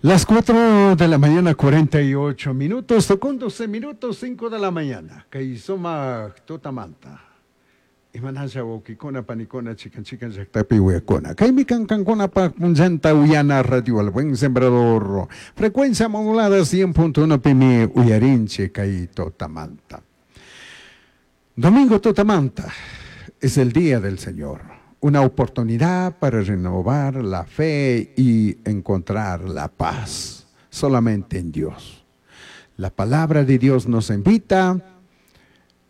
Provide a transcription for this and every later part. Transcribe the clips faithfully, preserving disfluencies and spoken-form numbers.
Las cuatro de la mañana, cuarenta y ocho minutos, con doce minutos, cinco de la mañana. Kay sumak tutamanta. Imanasha wawkikuna, panikuna, chikan chikan llaktapi uyakuna. Kaymi kan kankunapaq punllanta uyana radio El Buen Sembrador. Frecuencia modulada cien punto uno pimi uyarinchik kay tutamanta. Domingo tutamanta es el día del Señor. Una oportunidad para renovar la fe y encontrar la paz solamente en Dios. La palabra de Dios nos invita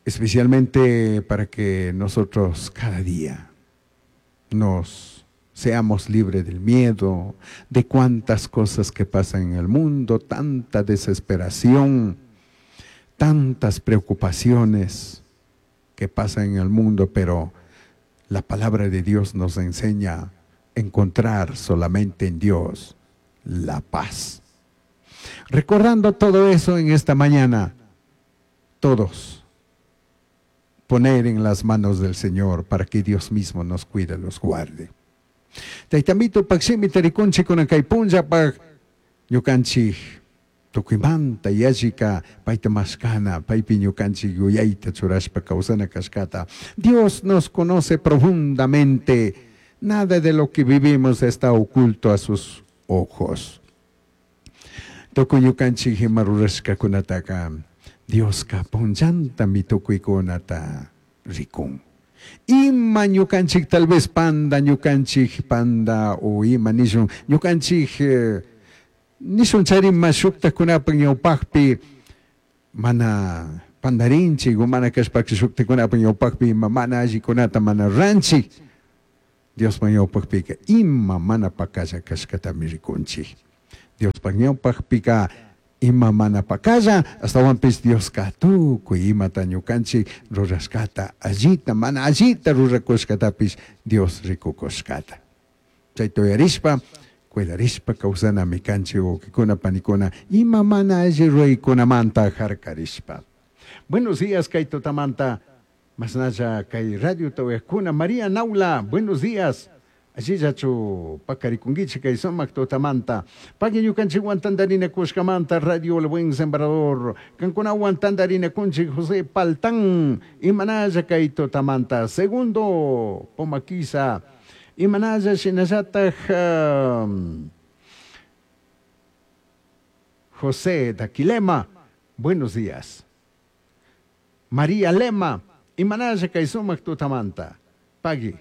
especialmente para que nosotros cada día nos seamos libres del miedo, de cuantas cosas que pasan en el mundo, tanta desesperación, tantas preocupaciones que pasan en el mundo, pero la palabra de Dios nos enseña a encontrar solamente en Dios la paz. Recordando todo eso en esta mañana, todos poner en las manos del Señor para que Dios mismo nos cuide, los guarde. Tayta Amitopak shimita rikunchik kunan kay punllapaj ñukanchik tukuymanta yallika payta mashkana, paypi ñukanchik yuyayta churashpa kawsana kashkata. Dios nos conoce profundamente. Nada de lo que vivimos está oculto a sus ojos. Tukuy ñukanchik ima rurashkakunataka Dioska punllantami tukuykunata rikun. Ima ñukanchik tal vez panda ñukanchik panda o ima nishun ñukanchik eh, nishun charima shuktakunapak ñawpakpi mana pandarinchik o mana kashpaka shuktakunapak ñawpakpi ima mana allikunata mana ruranchik, Diospak ñawpakpika ima mana pakalla kashkatami rikunchik. Diospak ñawpakpika ima mana pakalla, ashtawanpish Dioska tukuy imata ñukanchik rurashkata, allita mana allita rurakushkatapish Dios rikukushkata. Chayta uyarishpa, cuidarishpa kawsanami kanchik, wawkikuna, panikuna, ima mana alli ruraykunamanta harkarishpa. Buenos días, kay tutamanta, mashnalla kay radio uyakuna. María Naula, buenos días. Allillachu pakarikunkichik kay sumak tutamanta. Pagui ñukanchikwan tantarinakushkamanta, Radio El Buen Sembrador. Kankunawan tantarinakunchik. José Paltán, imanalla kay tutamanta. Segundo Pomaquiza, imanalla shinallataj um, José Daquilema, buenos días. María Lema, imanalla kay sumak tutamanta. Pagui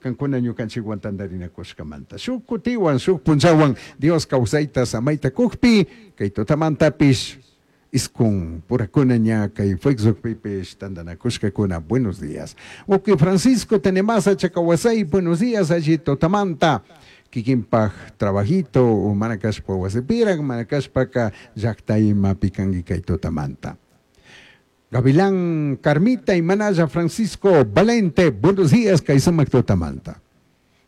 kankuna ñukanchikwan tantarinakushkamanta. Shuk kutiwan, shuk punllawan Dios kawsayta samayta kukpi, kay tutamantapish iskun purakuna ña kay Facebookpipish tantanakushkakuna. Buenos días. Wawki Francisco Tenemasa Chacawasay, buenos días, alli tutamanta. Kikinpaj trabajito o mana kashpa wasipirak, mana kashpaka llakta imapi kanki kay tutamanta. Gavilán Carmita y Manaya Francisco Valente, buenos días, kay sumak tutamanta.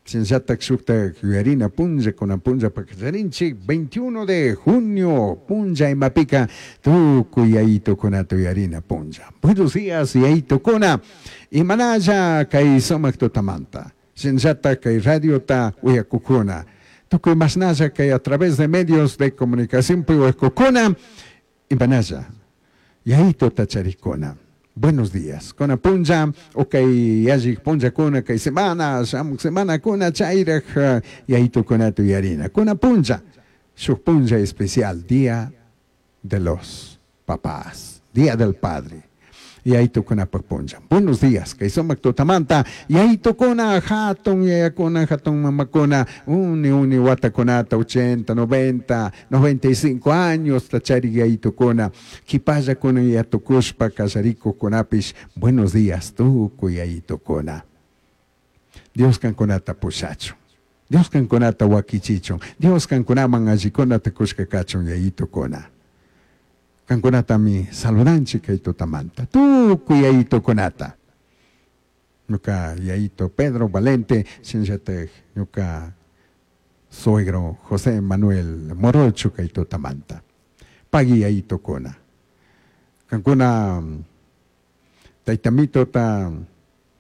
Shinallatak shukta yuyarina punlla kunan punlla pakacharinchik veintiuno de junio punlla imapika tukuy yayitukunata yuyarina punlla. Buenos días, yayitukuna. Imanalla kay sumak tutamanta. Shinallatak kay radiota uyakukuna. Tukuy mashnalla kay a través de medios de comunicación uyakukuna. Imanalla yayituta charikuna. Buenos días. Kunan punlla, okay, yallik punllakuna, kay semana, shamuk semanakuna, chayraj yayitukunata yuyarina. Kunan punlla, shuk punlla especial, Día de los Papás, Día del Padre. Yayitukunapak punlla. Buenos días, kay sumak tutamanta, yayitukuna, hatun yayakuna, hatun mamakuna, uni uni watakunata, ochenta, noventa, noventa y cinco años, tachari yayitukuna, kipallakuna yatukushpa, kasharikukunapish, buenos días, tukuy yayitukuna. Dios kankunata pushachun. Dios kankunata wakichichun. Dios kankunaman allikunata kushka kachun, yayitukuna. Kankunatami saludanchik kay tutamanta. Tukuy yayitukunata. Ñuka yayito Pedro Valente, shinallatak ñuka suegro José Manuel Morocho kay tutamanta. Pagui, yayitukuna. Kankuna tayta Amitota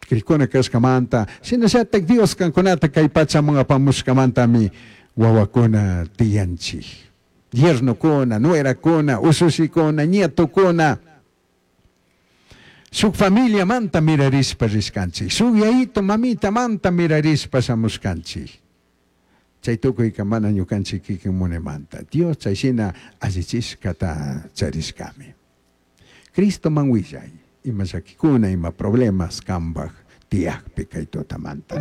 krikuna kashkamanta, shinallatak Dios kankunata kay pachaman apamushkamantami wawakuna tiyanchik. Yernokuna, nuerakuna, ushushikkuna, nietokuna. Shuk familiamanta mirarishpa rishkanchik, shuk yayito mamitamanta mirarishpa shamushkanchik. Chay tukuyka mana ñukanchik kikin munaymanta, Dios chay shina allichishkata charishkami. Cristoman willay, ima llakikuna, ima problemas kanpak tiyakpi kay tutamanta.